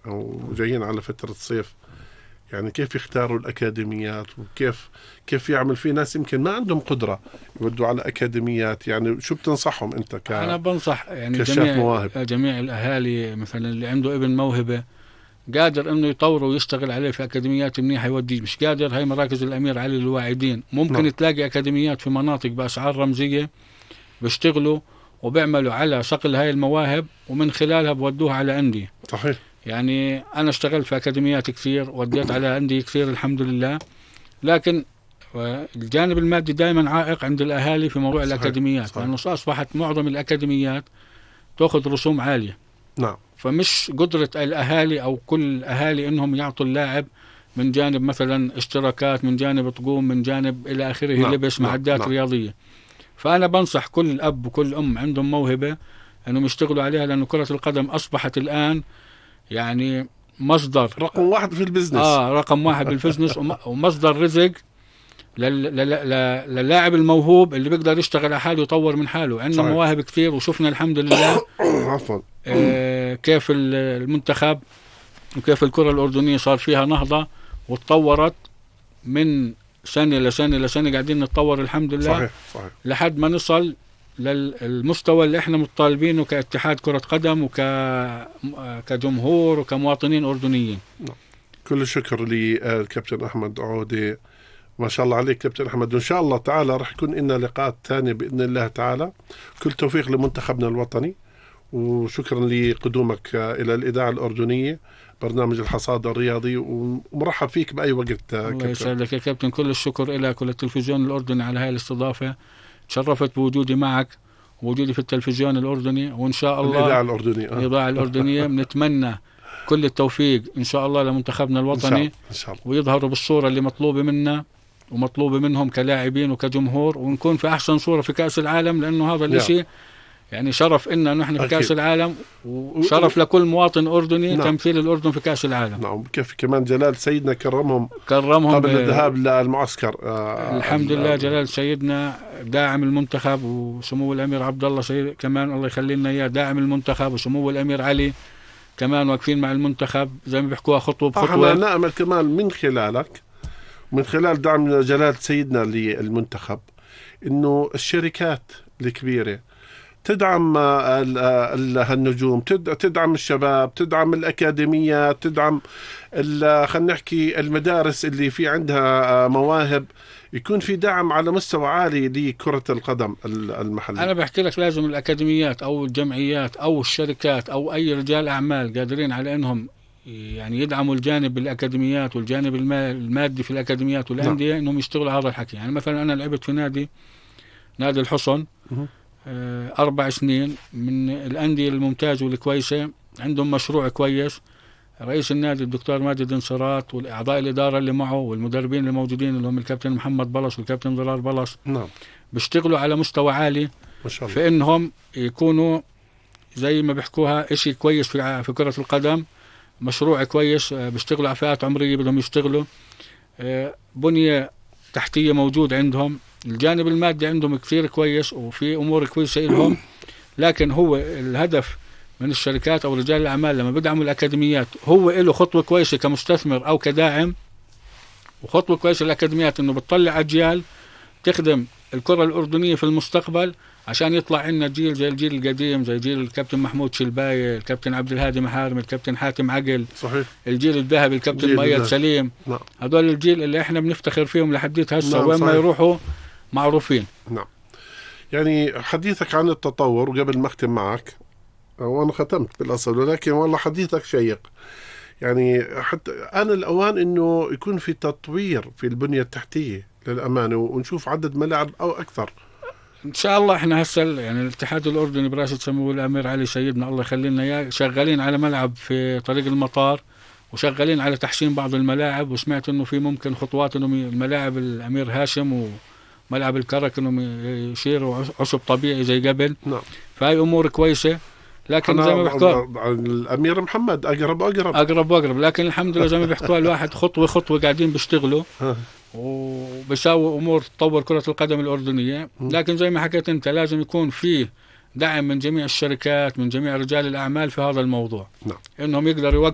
وجايين على فترة صيف، يعني كيف يختاروا الأكاديميات وكيف يعمل؟ في ناس يمكن ما عندهم قدرة يودوا على أكاديميات، يعني شو بتنصحهم أنت أنا بنصح يعني جميع الأهالي مثلا اللي عنده ابن موهبة قادر انه يطوره ويشتغل عليه في اكاديميات منيحه يوديه، مش قادر هاي مراكز الامير علي للواعدين ممكن تلاقي اكاديميات في مناطق باسعار رمزيه بيشتغلوا وبيعملوا على صقل هاي المواهب ومن خلالها بودوها على انديه. صحيح. يعني انا اشتغلت في اكاديميات كثير، وديت على انديه كثير الحمد لله، لكن الجانب المادي دائما عائق عند الاهالي في موضوع الاكاديميات، لانه اصبحت معظم الاكاديميات تاخذ رسوم عاليه. نعم. فمش قدرة الأهالي أو كل الأهالي إنهم يعطوا اللاعب من جانب مثلا اشتراكات، من جانب طقوم، من جانب إلى آخره، لبس، معدات رياضية. فأنا بنصح كل أب وكل أم عندهم موهبة إنهم يشتغلوا عليها، لأن كرة القدم أصبحت الآن يعني مصدر رقم واحد في البزنس. رقم واحد بالبزنس ومصدر رزق للاعب الموهوب اللي بيقدر يشتغل على حاله ويطور من حاله. عندنا مواهب كثير، وشفنا الحمد لله عفوا كيف المنتخب وكيف الكرة الأردنية صار فيها نهضة وتطورت من سنة لسنة لسنة، قاعدين نتطور الحمد لله. صحيح. لحد ما نصل للمستوى اللي احنا مطالبينه كاتحاد كرة قدم كجمهور وكمواطنين أردنيين. كل الشكر للكابتن أحمد عودة، ما شاء الله عليك كابتن أحمد، وإن شاء الله تعالى رح يكون لنا لقاءات ثانية بإذن الله تعالى. كل توفيق لمنتخبنا الوطني، وشكرا لقدومك إلى الإذاعة الأردنية برنامج الحصاد الرياضي، ومرحب فيك بأي وقت. الله يسعدك يا كابتن، كل الشكر لك وللتلفزيون الأردني على هاي الاستضافة. تشرفت بوجودي معك ووجودي في التلفزيون الأردني، وإن شاء الله الإذاعة الأردنية بنتمنى كل التوفيق إن شاء الله لمنتخبنا الوطني إن شاء الله. ويظهروا بالصورة اللي مطلوبة منا ومطلوبة منهم كلاعبين وكجمهور، ونكون في أحسن صورة في كأس العالم، لأنه هذا الشيء يعني شرف إننا نحن في كأس العالم، وشرف لكل مواطن أردني تمثيل الأردن في كأس العالم. نعم. كيف كمان جلال سيدنا كرمهم قبل الذهاب للمعسكر. الحمد لله جلال سيدنا داعم المنتخب، وسمو الأمير عبد الله سيد كمان الله يخلي لنا إياه داعم المنتخب، وسمو الأمير علي كمان واقفين مع المنتخب زي ما بيحكوها خطوة بخطوة. احنا نأمل كمان من خلالك، من خلال دعم جلال سيدنا للمنتخب، إنه الشركات الكبيرة تدعم هالنجوم، تدعم الشباب، تدعم الأكاديميات، تدعم خلينا نحكي المدارس اللي في عندها مواهب، يكون في دعم على مستوى عالي لكرة القدم المحلية. أنا بحكي لك لازم الأكاديميات أو الجمعيات أو الشركات أو أي رجال أعمال قادرين على أنهم يعني يدعموا الجانب الأكاديميات والجانب المادي في الأكاديميات والأندية، أنهم يشتغلوا هذا الحكي. يعني مثلا أنا لعبت في نادي الحصن 4 سنين، من الأندية الممتازة والكويسة، عندهم مشروع كويس. رئيس النادي الدكتور ماجد انصارات والأعضاء الإدارة اللي معه والمدربين الموجودين اللي هم الكابتن محمد بلص والكابتن ضرار بلص، بيشتغلوا على مستوى عالي ما شاء الله، في إنهم يكونوا زي ما بيحكوها إشي كويس في كرة القدم، مشروع كويس. بيشتغلوا على فئات عمرية بدهم يشتغلوا، بنية تحتية موجود عندهم، الجانب المادي عندهم كثير كويس، وفي أمور كويسة لهم. لكن هو الهدف من الشركات أو رجال الأعمال لما بدعموا الأكاديميات، هو له خطوة كويسة كمستثمر أو كداعم، وخطوة كويسة الأكاديميات إنه بتطلع أجيال تخدم الكرة الأردنية في المستقبل، عشان يطلع عنا جيل زي الجيل القديم، زي جيل الكابتن محمود شلباية، الكابتن عبد الهادي محارم، الكابتن حاتم عقل. صحيح. الجيل الذهبي الكابتن مؤيد سليم. هذول الجيل اللي احنا بنفتخر فيهم لحديت هسه. وين ما يروحوا معروفين. نعم. يعني حديثك عن التطور، وقبل ما اختم معك، وانا ختمت بالاصل، ولكن والله حديثك شيق. يعني حتى آن الأوان إنه يكون في تطوير في البنية التحتية للأمانة، ونشوف عدد ملاعب أو أكثر إن شاء الله. إحنا هسه يعني الاتحاد الأردني برئاسة سمو الأمير علي سيدنا الله يخلي لنا إياه، شغالين على ملعب في طريق المطار، وشغالين على تحسين بعض الملاعب، وسمعت إنه في ممكن خطوات إنه الملاعب الأمير هاشم وملعب الكرك إنهم يشيروا عشب طبيعي زي قبل. نعم. فهي أمور كويسة، لكن زي ما بيحكوا الأمير محمد أقرب، لكن الحمد لله زي ما بيحكوا الواحد خطوة خطوة قاعدين بيشتغلوا وبيساووا أمور تطور كرة القدم الأردنية. لكن زي ما حكيت أنت لازم يكون فيه دعم من جميع الشركات، من جميع رجال الأعمال في هذا الموضوع. نعم. إنهم يقدروا يوقفوا